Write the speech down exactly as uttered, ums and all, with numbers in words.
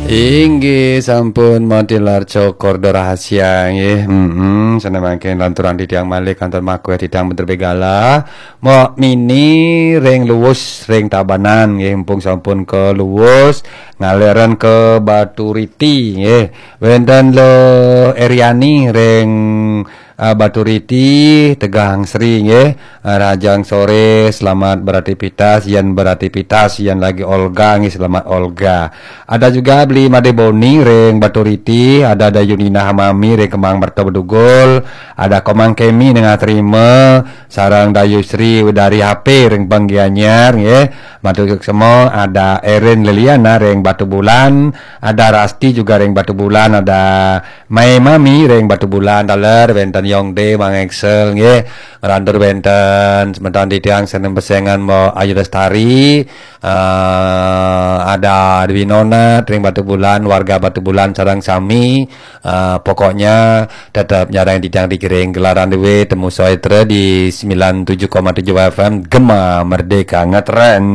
Inggih sampun matilar cokor do rahasia nggih. Hmm, sané mangkin lanturang titiang malih kantor makué titiang bentar begala. Mok mini ring Luwus ring Tabanan nggih, mumpung sampun ke Luwus, ngaliran ke Baturiti nggih. Wénten Lo Eriani ring ah, Baturiti, Tegang Sri nggih. Ah, rahajeng soré, selamat beraktivitas, yén beraktivitas, yén lagi olga nggih, selamat olga. Ada juga Beli Madé Boni ring Baturiti, ada Dayu Nina Hamami ring Kemang Merta Bedugul, ada Komang Kemi ring Atrima, sareng Dayu Sri Widari H P ring Penggianyar nggih. Matur suksma, ada Erin Liliana ring Batubulan, ada Rasti juga ring Batubulan, ada Mai Mami ring Batubulan taler, wénten Yongde, Mang Excel nggih. Ngrantur wénten semeton titiang sané pesengan Mbok Ayu Lestari, eh, ada Dwi Nonat ring Batubulan, warga Batubulan sareng sami, eh, pokoknya tetep nyarengin titiang di Gering Gelaran Dewe, temu soitra di sembilan tujuh koma tujuh F M Gema Merdeka Ngetren.